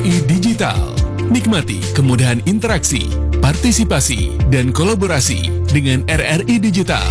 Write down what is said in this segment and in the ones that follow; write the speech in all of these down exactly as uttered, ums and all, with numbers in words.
Digital. Nikmati kemudahan interaksi, partisipasi, dan kolaborasi dengan R R I Digital.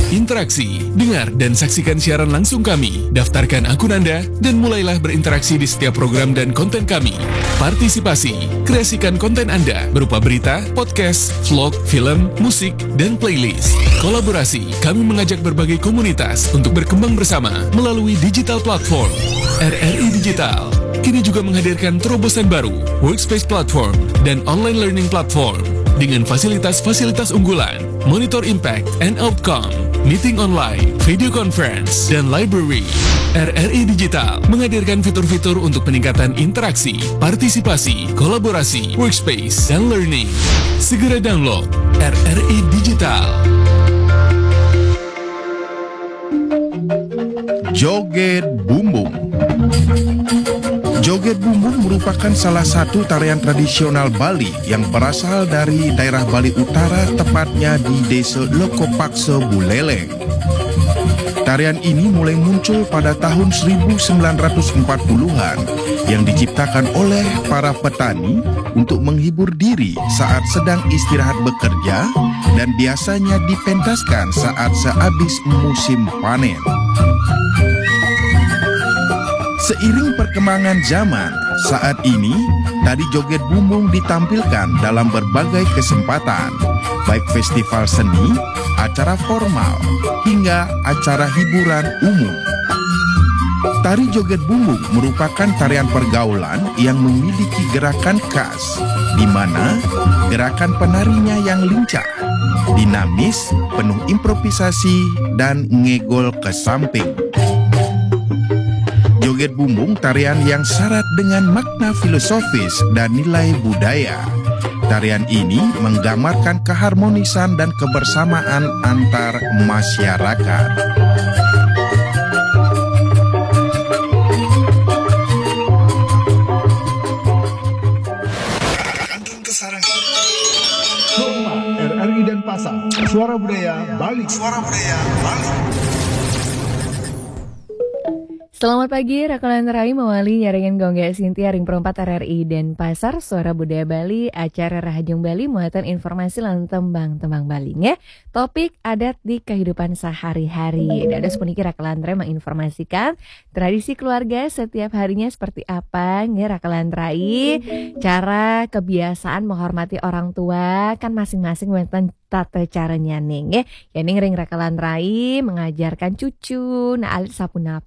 Interaksi, dengar, dan saksikan siaran langsung kami. Daftarkan akun Anda dan mulailah berinteraksi di setiap program dan konten kami. Partisipasi, kreasikan konten Anda berupa berita, podcast, vlog, film, musik, dan playlist. Kolaborasi, kami mengajak berbagai komunitas untuk berkembang bersama melalui digital platform. R R I Digital kini juga menghadirkan terobosan baru, Workspace Platform dan Online Learning Platform, dengan fasilitas-fasilitas unggulan, Monitor Impact and Outcome, Meeting Online, Video Conference, dan Library. R R I Digital menghadirkan fitur-fitur untuk peningkatan interaksi, partisipasi, kolaborasi, workspace, dan learning. Segera download R R I Digital. Joget Bumbung. Joget Bumbung merupakan salah satu tarian tradisional Bali yang berasal dari daerah Bali Utara, tepatnya di Desa Lokopaksa, Buleleng. Tarian ini mulai muncul pada tahun seribu sembilan ratus empat puluhan, yang diciptakan oleh para petani untuk menghibur diri saat sedang istirahat bekerja, dan biasanya dipentaskan saat sehabis musim panen. Seiring perkembangan zaman, saat ini tari joget bumbung ditampilkan dalam berbagai kesempatan, baik festival seni, acara formal, hingga acara hiburan umum. Tari joget bumbung merupakan tarian pergaulan yang memiliki gerakan khas, di mana gerakan penarinya yang lincah, dinamis, penuh improvisasi, dan ngegol ke samping. Joget bumbung tarian yang syarat dengan makna filosofis dan nilai budaya. Tarian ini menggambarkan keharmonisan dan kebersamaan antar masyarakat. Kandun Kesarang. Rumah R R I Denpasar. Suara Budaya Bali. Suara Budaya Bali. Selamat pagi, Rakelan Rai mawali nyarengin Gongge Sintia ring perempat R R I Denpasar, Suara Budaya Bali, acara Rahajeng Bali, muatan informasi lan tembang-tembang Bali, nggih. Topik adat di kehidupan sehari-hari. Dados puniki Rakelan Rai menginformasikan tradisi keluarga setiap harinya seperti apa, nggih, Rakelan Rai. Cara kebiasaan menghormati orang tua kan masing-masing wonten tata caranya nih, nggih. Yening ring Rakelan Rai mengajarkan cucu, nah alit sapunapi.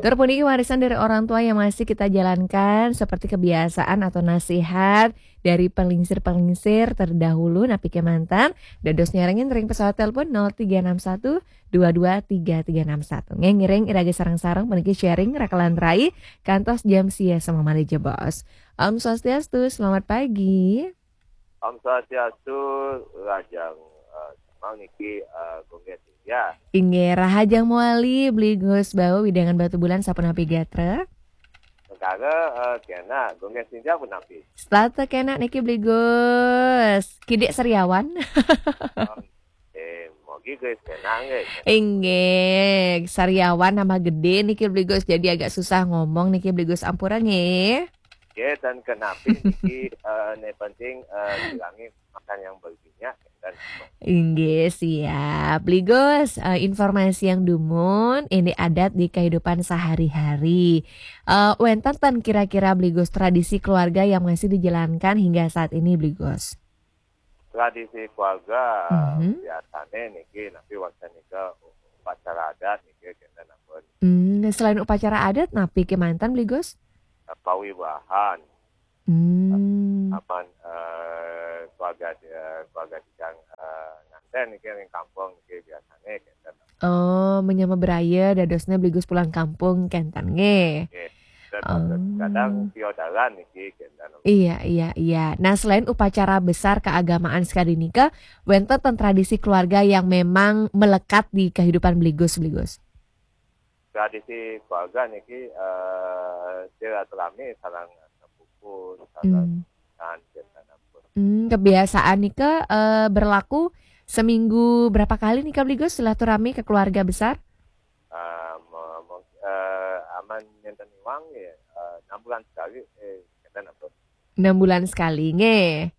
Tur puniki warisan dari orang tua yang masih kita jalankan seperti kebiasaan atau nasihat dari pelingsir-pelingsir terdahulu napi kemanten. Dados nyarengin ring pesawat telepon nol tiga enam satu dua dua tiga tiga enam satu. Ngiring iraga sareng-sareng puniki sharing Rakelan Rai kantos jam sia semamali jebos. Om Swastiastu, selamat pagi. Om Swastiastu, Rahajeng, eh, semang niki, eh, Gongge Sintia. Inggih, Rahajeng mawali, Bli Gus Bau, wewidangan Batubulan, sapunapi gatra? Negara, eh, kena, Gongge Sintia punapi? Setata kena niki, Bli Gus. Kidik Sariawan. Om, eh, mogi Gus kena, nggih. Inggih, Sariawan nambah gede niki, Bli Gus. Jadi agak susah ngomong niki, Bli Gus, ampura nggih. Nggih, ten kenapi niki, eh, ne penting, eh, silangi makan yang berginya, dan Inggih, siap. Bli Gus, eh, informasi yang dumun, ini adat di kehidupan sehari-hari. Eh, wenten ten kira-kira, Bli Gus, tradisi keluarga yang masih dijalankan hingga saat ini, Bli Gus? Tradisi keluarga, Mhm. biasane niki, napi wekdal nika upacara adat niki, kenten ampun. Hmm, selain upacara adat, napi kemanten, Bli Gus? Pawiwahan. Hmm. Aman, eh, keluarga, eh, keluarga titiang, eh, nganten niki ring kampung niki biasane kenten. Oh, menyama beraya dadosnya Bli Gus pulang kampung kenten nggih. Nggih. Dan Oh. Kadang piodalan niki kenten. Iya, iya, iya. Nah, selain upacara besar keagamaan sekali nika, wenten ten tradisi keluarga yang memang melekat di kehidupan Bli Gus, Bli Gus? Tradisi keluarga niki, eh, silaturahmi sareng sepupu, sareng Hmm. nan, kenten ampun. Hmm, kebiasaan nika, eh, berlaku seminggu berapa kali nika, Bli Gus, silaturahmi ke keluarga besar? Eh, mo-, mo-, eh, aman nenten Mang ya, eh, enam bulan sekali, eh, kita nonton. Enam bulan sekali, nggih.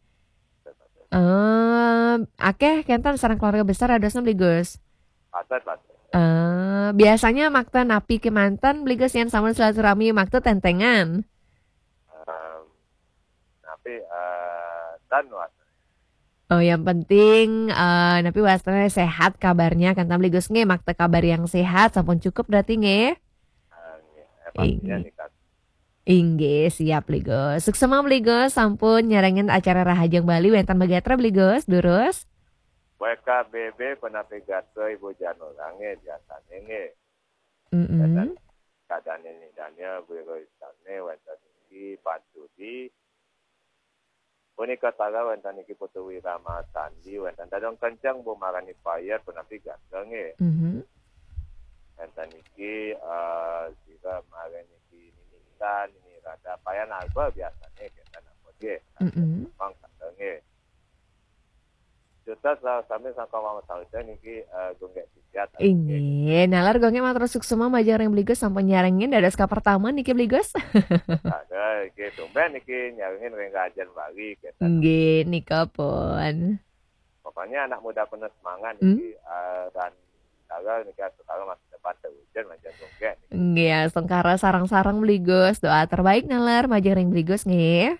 Eh, akeh kenten sareng keluarga besar dadosna, Bli Gus? Patut, patut. Eh, biasanya makta napi kemanten, Bli Gus, yen sampun silaturahmi, makta tentengan? Em, tapi, eh, dan was. Oh, yang penting, eh, napi wastane sehat kabarnya, kan, Bli Gus, nggih, makta kabar yang sehat, sampun cukup berarti, nggih? Eh, nggih, eh, pastinya. Inggih. Nih, Kak. Inggih, siap, Bli Gus. Suksma, Bli Gus, sampun nyarengin acara Rahajeng Bali, wenten magatra, Bli Gus, durus? W K B B, penapi gatra Ibu Janurang, nggih, biasane, nggih. Mm-mm. Wenten kadane Daniel, Bu Roy Stanley, wenten niki Pak Judi. Punika tara wenten niki Putu Wirama Sandi, wenten Dadong Kenceng, Bu Marani Fire, penapi gatra, nggih. Mhm. Wenten niki, eh, sira marani niki Nini Intan, Nini Rada, Payan Alba biasane kenten ampun, nggih. Mm-mm. Mang gatra, nggih. Juta sami sangka mama sawita niki, eh, Gung Gek Sijat. Inggih, nalar Gung Gek matur suksma majeng ring Bli Gus sampun nyarengin dados kapertama niki, Bli Gus. Ada, nggih, tumben niki nyarengin ring Rajen Bali, kenten. Nggih, nika pun. Pokoknya anak muda penuh semangat. Hmm? Niki, eh, dan tagal niki, asal tagal masih depan terwujud, majeng Gung Gek niki. Nggih, astungkara sareng-sareng, Bli Gus. Doa terbaik nalar majeng ring Bli Gus, nggih.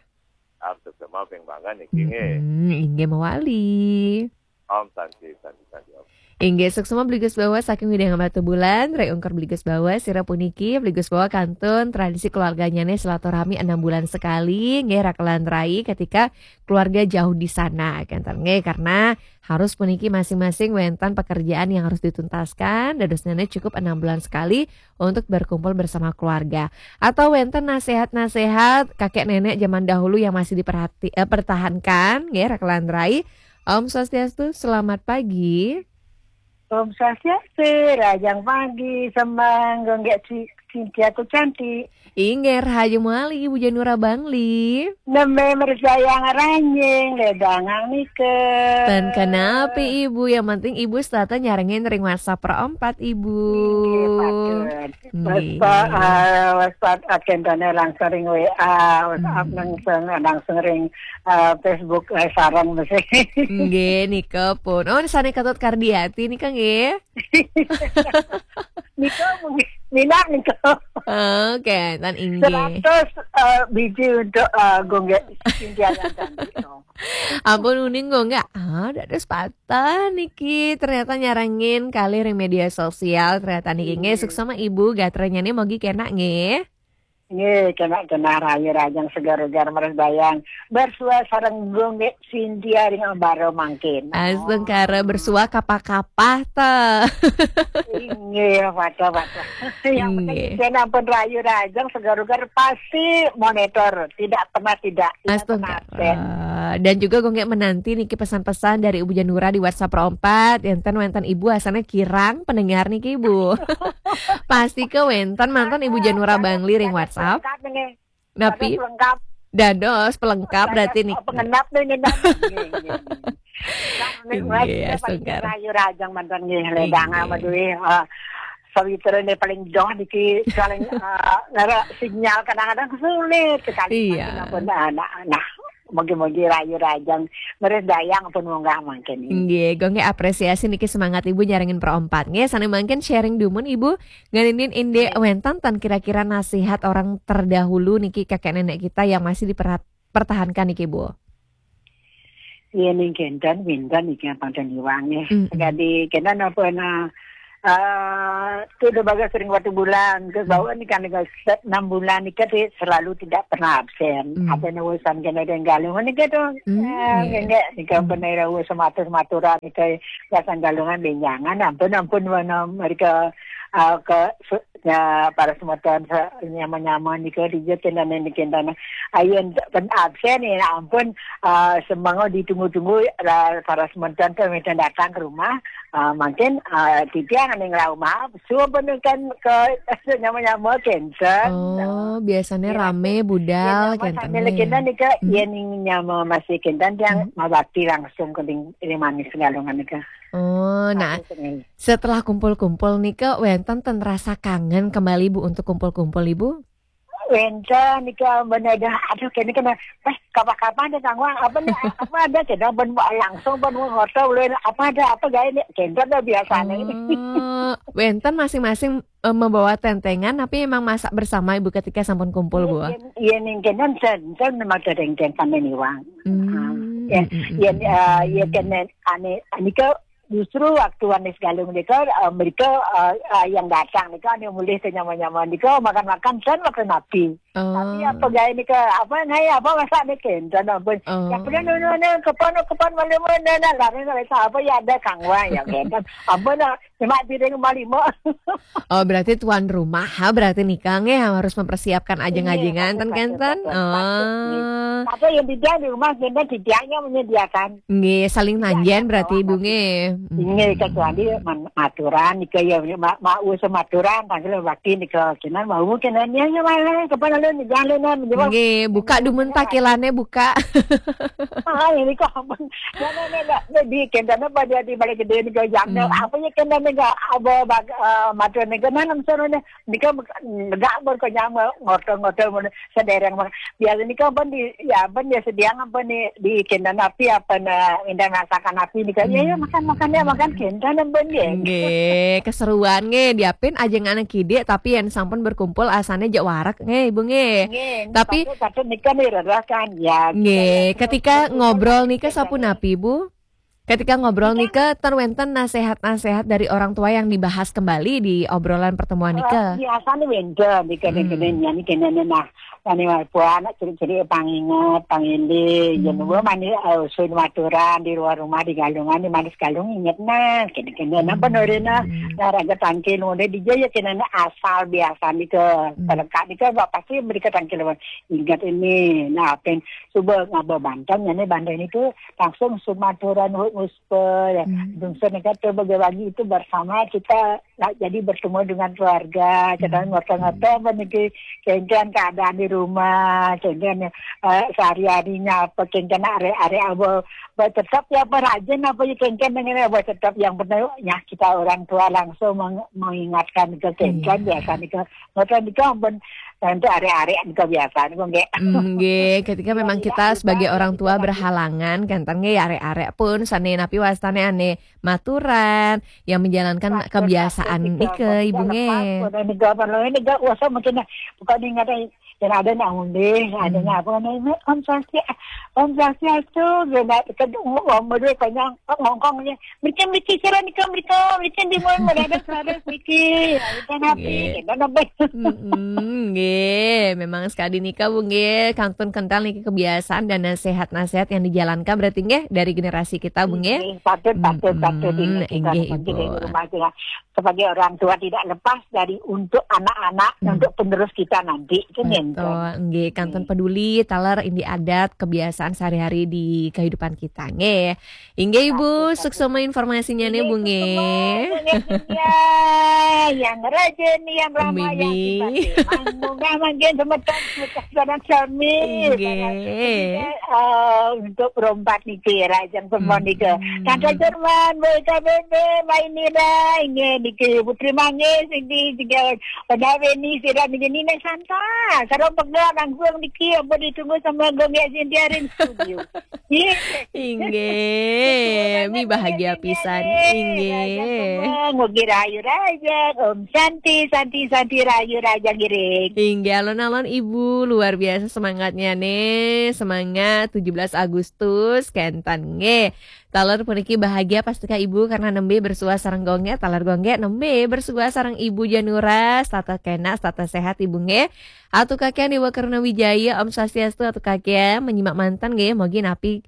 Am, suksma ping bangga niki, nggih. Mm-mm, inggih mawali. Om Santi, Santi, Santi, Om. Inggih, suksma Bli Gus Bawa saking Widang Batubulan, ring ungkur Bli Gus Bawa, sira puniki, Bli Gus Bawa kantun tradisi keluarganyane silaturahmi enam bulan sekali, nggih, rakelan rai ketika keluarga jauh di sana, kenten, nggih, karena harus puniki masing-masing wenten pekerjaan yang harus dituntaskan, dadosnane cukup enam bulan sekali untuk berkumpul bersama keluarga. Atau wenten nasihat-nasihat kakek nenek zaman dahulu yang masih diperhati-, eh, pertahankan, nggih, rakelan rai. Om Swastiastu, selamat pagi. Om Swastiastu, rahajeng pagi, Semang, Gung Gek Ci-, Cynthia ku cantik. Inggih, rahayu malih Ibu Janura Bangli. Nembe mresayang ranjing, ledangang nika. Ten kenapi, Ibu, yang penting Ibu setata nyarengin ring WhatsApp Pro Empat, Ibu. Inggih, patut. Nggih. Waspa-, eh, waspat akentane langsung ring W A, WhatsApp. Hmm. Langsung, langsung ring, eh, Facebook, eh, sareng mesti. Nggih, nika pun. Oh, sane Ketut Kardiati nika nggih. Nika mungkin minat nika. Oke, tan inggih. Seratus, eh, biji untuk, eh, Gung Gek Cynthia yang cantik. Ampun uning Gung Gek. Ah, dados patah niki. Ternyata nyarengin kalih ring media sosial. Ternyata niki nggih. Nggih. Suksma Ibu, gatranyane mogi kenak nggih. Nggih, kenak-kenak rahayu rahajeng seger-seger mresayang. Bersuah sareng Gung Gek Cynthia ring ambara mangkin. Astungkara bersuah kapah-kapah ta. Inggih, patut, patut. Yang penting nggih. Kenak pun rahayu rahajeng seger-seger pasti monitor, tidak pernah tidak. Astungkara. Dan juga Gung Gek menanti niki pesan-pesan dari Ibu Janura di WhatsApp Pro Empat. Enten wenten Ibu asane kirang pendengar niki, Bu. Pasti ke wenten mantan Ibu Janura Bangli ring WhatsApp. Lengkap ini. Napi? Dados pelengkap. Dados pelengkap berarti niki. Pengenap nih, nih, nih. Nggih, astungkara. Rahayu rahajeng mantan nggih, ledang. Inggih. Amat duwe, eh, sawitra ini paling jauh niki, paling, eh, ngara sinyal kadang-kadang sulit sekali. Iya. Ampun, anak-anak. Mugi-mugi rahayu rahajeng, mresayang pun munggah mangkin. Nggih, Gung Gek apresiasi niki semangat Ibu nyarengin Pro Empat. Nggih, sane mangkin sharing dumun Ibu, ngeninin indik wenten ten kira-kira nasihat orang terdahulu niki kakek nenek kita yang masih diperhat-, pertahankan niki, Bu. Iya, ning kenten, wenten niki yang panten iwang ya. Mm-mm. Jadi, kenten apa na, eh, tu udah bagas sering waktu bulan, terus bawa ni kan dengan set enam bulan ni kan dia selalu tidak pernah absen. Hmm. Apa ni urusan kena dengan Galungan ni kan tu. Hmm, eh, iya. Enggak, ni kan pernah ira urusan matur-maturan ni kan biasa Galungan benjangan, ampun, ampun, mana mereka, eh, ke, se-, ya, para semeton se-, nyama-nyama ni kan dia kena ni kena. Ayen pen absen ya, ampun, eh, semanga ditunggu-tunggu, eh, para semeton tu minta datang ke rumah. Ah, mungkin, ah, titiang ning rauh mah, suba kan ke nyama-nyama kenten. Oh, biasane rame budal kenten. Sambil kenten nika, hmm, yen ning nyama masih kenten, tiang mabakti langsung ke ning, ning manis Galungan nika. Oh, nah, setelah kumpul-kumpul nika, wenten ten rasa kangen kembali, Bu, untuk kumpul-kumpul, Ibu? Wénten nika bener dah. Aduh, kene kena, "Eh, kapan-kapan deh, Kang Wang, apa nih, apa ada?" Kita ben langsung ben ngobrol, apa ada, apa gaé nih? Kita udah biasa nih. Oh, wénten masing-masing eh, membawa tentengan, tapi emang masak bersama Ibu ketika sampun kumpul, Bu? Iya, iya, nih, kan, kan, kan, kan, memang ada yang sama nih, Wang. Hmm, Ya, mm, mm, ya, mm, eh, ya, mm. Kan, ane, ane ke justru waktu Wanis Galung nika, eh, mereka, eh, eh, yang datang nika, ane mulih ke nyaman-nyaman nika, makan-makan, sen makan api. Tapi apa Oh, gaé nika, apa ngai, apa masak nih, kan, ampun. oh. Ya, pernah nuna, nuna, kapan, kapan, malam mana, nah, lari, lari, apa ya ada Kang Wang, ya, kan. Apa nah, cuma piring lima lima. Oh, berarti tuan rumah, ha, berarti nika nggih harus mempersiapkan ajeng-ajengan, ten Patut, kenten. patut, patut, patut, nih. Oh. Apa yang tidak di rumah, kita tidaknya menyediakan. Nggih, saling Tidak nanjen ada berarti Ibu bawa. Nggih. Ini Mm-mm. Kecuali man- maturan, nika ya, ma- mau sematuran, panggil wakil, nika, kinan, mau, kinan, ya, ya, mana, kapan lalu, nih, jangan, nih, nih, Nggih, buka dumun takilane, buka. Ah, ini kok, ampun. Ya, nah, nah, nah, nah, di kendana pada di Balai Gedé nih, jam Hmm. apa ya, kendana nggak, apa, bag-, eh, matur nih, kenapa, misalnya, nika, nggak, berkenyang, ngotor-ngotor, sedereng, biasa nika, ampun, di, ya, ampun, ya, sediang, ampun, di, di kendana api, apa, nah, indah masakan api nih, kan, ya, ya, makan, makan, ya, makan, kendana, ampun, ya. Nggih, keseruan nggih, diapin ajeng anak kidik, tapi yang sampun berkumpul asane jak warek nggih, Ibu nggih. Nggih, Tapi patut, patut nika nih, rerakan, ya. Nggih, Kita, ketika kita, ngobrol kita, nika kita, sapunapi, Bu? Ketika ngobrol nika, ten wénten nasehat-nasehat dari orang tua yang dibahas kembali di obrolan pertemuan Eh, nika? Biasanya wénten, di kene-kene, Hmm. nyanyi kene, nah, ini, wah, anak ciri-ciri panginget, pangili, Hmm. ya, nunggu mani, eh, sun maturan di luar rumah, di Galungan, di Manis Galung, inget, nah, kene-kene, nah, Hmm. penorena, nah, raja tangkil, udah di jaya, kene, nah, asal biasa nih ke, Hmm. terdekat nih ke, pasti mereka tangkil, ingat ini, nah, pen, coba ngaba banten, ya, nih, banten itu langsung sun maturan, nguspe, ya, Hmm. dungsun nika tuh bagi-bagi itu bersama kita, nah, jadi bertemu dengan keluarga, kita Hmm. ngobrol-ngobrol apa niki, kengken keadaan di rumah, kengken, eh, sehari-harinya apa, kengken arek-arek apa, buat tetap ya apa rajin apa ya kengken dengan apa tetap yang penting ya kita orang tua langsung meng-, mengingatkan ke kengken Iya. Biasa nika ngobrol nika ampun untuk arek-arek nika biasa nika nggih. Mm, nggih, ketika Iya, memang iya, kita kita sebagai orang yang tua kita berhalangan, kenten nggih arek-arek pun sane napi wastane ane maturan yang menjalankan Patut, kebiasaan patut, nika, patut, Ibu patut, nggih. patut. Ini gak perlu, ini gak usah mungkin bukan ingat yang ada nak ngundih, ada Hmm. nak apa namanya, Om Swastiastu, Om Swastiastu, gila, kita ngomong dulu konyang, ngongkong ni, mereka mereka cara ni, mereka mereka di mana mana ada serada sedikit, kita napi, Nggih. kita napi. Mm-mm, nggih, memang sekali nika Bu nggih, kantun kental niki kebiasaan dan nasihat-nasihat yang dijalankan berarti nggih dari generasi kita Bu nggih. Nggih, patut, patut, patut Mm-mm, ini kita inggih, nanti Ibu. Dari rumah kita sebagai orang tua tidak lepas dari untuk anak-anak, Hmm. untuk penerus kita nanti, itu Betul, nggih, kantun Nggih. Peduli taler indi adat kebiasaan sehari-hari di kehidupan kita nggih. Inggih Ibu, Patut, patut. Suksema informasinya nih Ini Bu itu nggih. semua yang yang rajin, yang ramah, yang Bibi. Simpati. Mangga mangga semeton semeton sareng sami. Inggih. Eh, untuk perompat niki, rajin semua Hmm. nika. Tante Jerman, Bu K B B, Mbak Inira, inggih niki Putri Mangis, inggih juga Pada Beni, sira niki Nina Santa. Sareng pegel langsung niki, ampun ditunggu sama Gong ya Sintia ring studio. Iya. Inggih, mi bahagia pisan. Inggih. Mugi rahayu raja, Om Santi, Santi, Santi, rahayu raja ngiring. Inggih, alon-alon Ibu luar biasa semangatnya nih. Semangat tujuh belas Agustus kenten nggih. Taler puniki bahagia pastika Ibu karena nembe bersua sareng Gong nggih, taler Gong nggih nembe bersua sareng Ibu Januras, tata kena, tata sehat Ibu nggih. Atu kakian Dewa Karuna Wijaya, Om Swastiastu, atu kakian menyimak manten nggih, mogi napi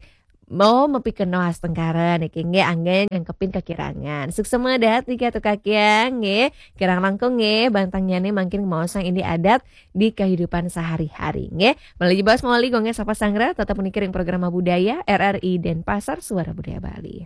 mau mepikeno astengkara niki nggih anggen nyangkepin kekirangan. Suksema dahat niki atu kakian nggih, kirang langkung nggih, bantangnyane mangkin maosang indi adat di kehidupan sehari-hari nggih. Malih jebos mawali Gong nggih sapa sanggra, tetep puniki ring programa budaya R R I Denpasar, Suara Budaya Bali.